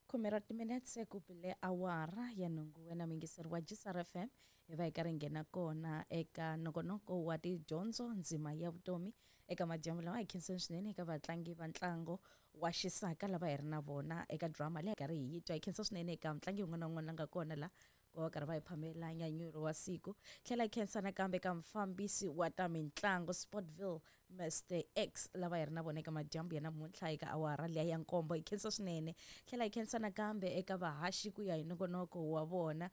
Khume ra timinetse ku bile awara ya nhungu. Wena muyingiseri wa GCR FM, hi va hi karhi hi nghena kona eka nongonoko wa tidyondzo, ndzima ya vutomi. Eka madyambu lawa, hi khenseni swinene eka vatlangi va ntlango wa xisaka lava hi ri na vona eka drama leyi hi karhi hi yi twa. Hi khensa swinene eka mutlangi wun'wana na wun'wana la nga kona la ku va karhi va hi phamela nyanyulo wa siku. Tlhela hi khensa nakambe ka mufambisi wa ta mitlangu, Sportville, Mr X, lava hi ri na vona eka madyambu ya namuntlha eka awara liya ya nkombo. Hi khensa swinene. Tlhela hi khensa nakambe eka vahaxi ku ya hi nongonoko wa vona,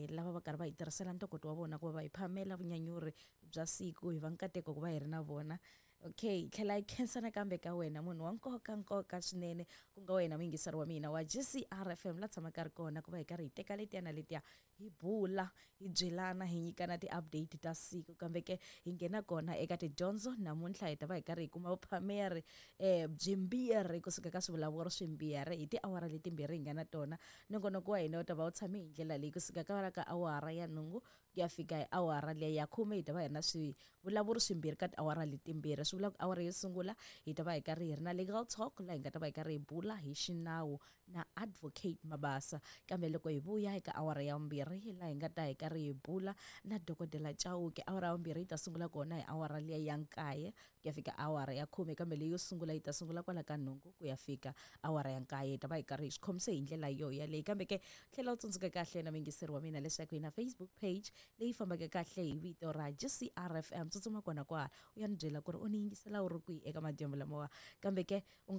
lava va karhi va hi tirhisela ntokoto wa vona ku va va hi phamela vunyanyuri bya siku. Hi va nkateko ku va hi ri na vona. Okay, tlhela hi khensa nakambe ka wena munhu wa nkoka nkoka swinene, ku nga wena muyingiseri wa mina wa GCR FM, la tshamaka ri kona ku va hi karhi hi teka letiya na letiya, hi bula, hi byelana, hi nyikana ti-update ta siku. Kambe ke hi nghena kona eka tidyondzo namuntlha, hi ta va hi karhi hi kuma vuphameri byimbirhi kusuka ka swivulavuri swimbirhi hi tiawara letimbirhi hi nga na tona. Nongonoko wa hina wu ta va wu tshame hi ndlela leyi: kusuka ka awara ya nhungu ku ya fika hi awara liya ya 10, hi ta va hi ri na swivulavuri swimbirhi ka tiawara letimbirhi. Swi vula ku awara yo sungula hi ta va hi karhi hi ri na Legal Talk, laha hi nga ta va hi karhi hi bula hi xinawu na Advocate Mabasa. Kambe loko hi vuya eka awara ya vumbirhi, laha hi nga ta hi karhi hi bula na Dokodela Chauke. Awara ya vumbirhi yi ta sungula kona hi awara liya ya 9 ku ya fika awara ya 10, kambe leyi yo sungula yi ta sungula kwala ka nhungu ku ya fika awara ya 9. Hi ta va hi karhi hi swi khomise hi ndlela yo yaleyi. Kambe ke tlhela u tsundzuka kahle na muyingiseri wa mina leswaku hi na Facebook page leyi fambaka kahle hi vito ra GCR FM. Tsutsuma kona kwala u ya ni byela ku ri u ni yingisela u ri kwihi eka madyambu lamawa. Kambe ke u